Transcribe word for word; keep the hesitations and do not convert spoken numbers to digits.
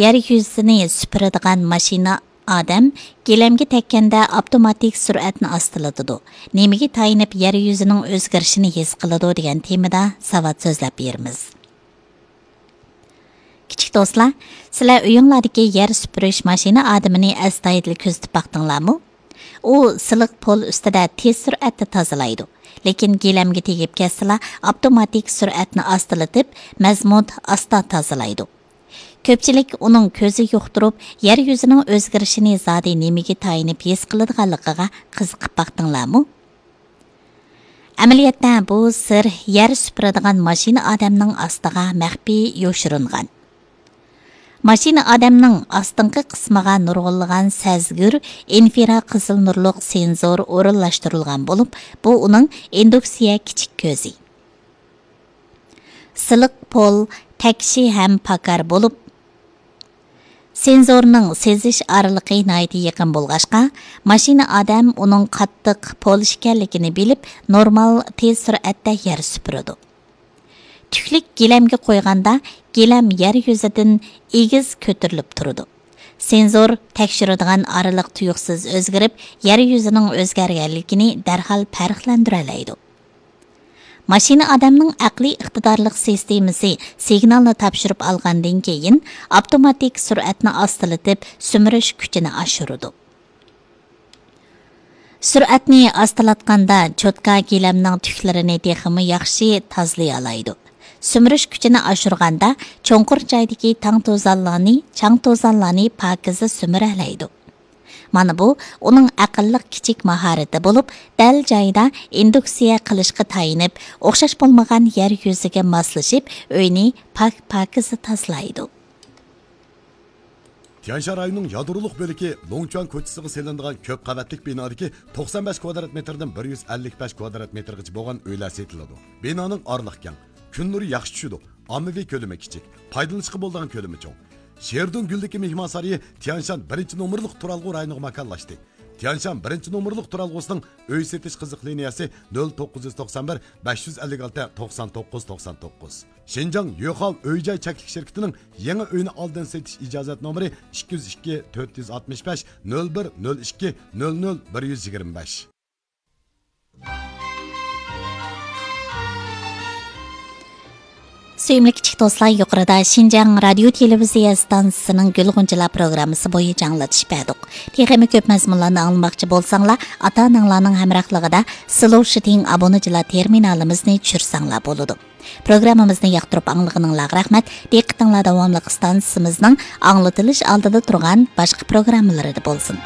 يەر يۈزىنى سۈپۈرىدىغان ماشىنا ئادەم گىلەمگە تەگكەندە ئاپتوماتىك سۈرئەتنى ئاستىلىتىدۇ. نېمىگە تايىنىپ يەر يۈزىنىڭ ئۆزگىرىشىنى ھېس قىلىدۇ دېگەن تېمىدا ساۋات سۆزلەپ بېرىمىز. كىچىك دوستلار، سىلەر ئۆيۈڭلاردىكى يەر سۈپۈرۈش ماشىنا ئادىمىنى ئەستايىدىل كۆزىتىپ باقتىڭلارمۇ؟ ئۇ سىلىق پول ئۈستىدە تېز سۈرئەتتە تازىلايدۇ. لېكىن گىلەمگە تېگىپ كەتسىلا، ئاپتوماتىك سۈرئەتنى ئاستىلىتىپ، مەزمۇت ئاستا تازىلايدۇ. كۆپچىلىك ئۇنىڭ كۆزى يۇقتۇرۇپ، يەر يۈزىنىڭ ئۆزگىرىشىنى زادى نېمىگە تايىنىپ ھېس قىلىدىغانلىقىغا قىزىقىپ باقتىڭلارمۇ؟ ئەمەلىيەتتە بۇ سىر يەر سۈپۈرىدىغان ماشىنا ئادەمنىڭ ئاستىغا مەخپىي يوشۇرۇنغان. ماشىنا ئادەمنىڭ ئاستىنقى قىسمىغا نۇرغۇنلىغان سەزگۈر ئىنفرا قىزىل نۇرلۇق سېنزور ئورۇنلاشتۇرۇلغان بولۇپ، بۇ ئۇنىڭ ئىندۇكسىيە كىچىك كۆزى. سىلىق پول تەكشى ھەم پاكار بولۇپ، سېنزورنىڭ سېزىش ئارىلىقى ناھايىتى يېقىن بولغاچقا، ماشىنا ئادەم ئۇنىڭ قاتتىق پول ئىكەنلىكىنى بىلىپ، نورمال تېز سۈرئەتتە يەر سۈپۈرىدۇ. تۈكلۈك گىلەمگە قويغاندا، گىلەم يەر يۈزىدىن ئېگىز كۆتۈرۈلۈپ تۇرىدۇ. سېنزور تەكشۈرىدىغان ئارىلىق تۇيۇقسىز ئۆزگىرىپ، يەر يۈزىنىڭ ئۆزگەرگەنلىكىنى دەرھال پەرقلەندۈرەلەيدۇ. ماشىنا ئادەمنىڭ ئەقلىي ئىقتىدارلىق سىستېمىسى سىگنالنى تاپشۇرۇپ ئالغاندىن كېيىن، ئاپتوماتىك سۈرئەتنى ئاستىلىتىپ، سۈمۈرۈش كۈچىنى ئاشۇرىدۇ. سۈرئەتنى ئاستىلاتقاندا، چوتكا گىلەمنىڭ تۈكلىرىنى تېخىمۇ ياخشى تازىلىيالايدۇ. سۈمۈرۈش كۈچىنى ئاشۇرغاندا، چوڭقۇر جايدىكى تاڭ توزانلارنى، چاڭ توزانلارنى پاكىزە سۈمۈرەلەيدۇ. مانا بۇ ئۇنىڭ ئەقىللىق كىچىك ماھارىتى بولۇپ، دەل جايىدا ئىندۇكسىيە قىلىشقا تايىنىپ، ئوخشاش بولمىغان يەر يۈزىگە ماسلىشىپ، ئۆينى پاك-پاكىزە تازىلايدۇ. تيەنشان رايونىنىڭ يادرولۇق بۆلىكى لوڭچۈەن كوچىسىغا سېلىنىدىغان كۆپ قەۋەتلىك بىنادىكى توقسان بەش كۋادرات مېتىردىن بىر يۈز ئەللىك بەش كۋادرات مېتىرغىچە بولغان ئۆيلەر سېتىلىدۇ. بىنانىڭ ئارىلىقى كەڭ، كۈن نۇرى ياخشى چۈشىدۇ، ئاممىۋى كۆلىمى كىچىك، پايدىلىنىشقا بولىدىغان كۆلىمى چوڭ. شېردۇڭ گۈلدىكى مېھمانسارىيى تيەنشان بىرىنچى نومۇرلۇق تۇرالغۇ رايونىغا ماكانلاشتى. تيەنشان بىرىنچى نومۇرلۇق تۇرالغۇسىنىڭ ئۆي سېتىش قىزىق لىنىيەسى نۆل توققۇز يۈز توقسان بىر، بەش يۈز ئەللىك ئالتە، توقسان توققۇز، توقسان توققۇز. شىنجاڭ يۆخاۋ ئۆي جاي چەكلىك شىركىتىنىڭ يېڭى ئۆينى ئالدىن سېتىش ئىجازەت نومۇرى ئىككى يۈز ئىككى، تۆت يۈز ئاتمىش بەش، نۆل بىر، نۆل ئىككى، نۆل نۆل، بىر يۈز يىگىرمە بەش. سۆيۈملۈك كىچىك دوستلار، يۇقىرىدا شىنجاڭ رادىيو تېلېۋىزىيە ئىستانسىسىنىڭ گۈل غۇنچىلار پروگراممىسى بويىچە ئاڭلىتىش بەردۇق. تېخىمۇ كۆپ مەزمۇنلارنى ئاڭلىماقچى بولساڭلار، ئاتا-ئاناڭلارنىڭ ھەمراھلىقىدا سلوشىتىڭ ئابۇنىچىلار تېرمىنالىمىزنى چۈشۈرسەڭلار بولىدۇ. پروگراممىمىزنى ياقتۇرۇپ ئاڭلىغىنىڭلارغا رەھمەت. دىققىتىڭلار داۋاملىق ئىستانسىمىزنىڭ ئاڭلىتىلىش ئالدىدا تۇرغان باشقا پروگراممىلىرىدا بولسۇن.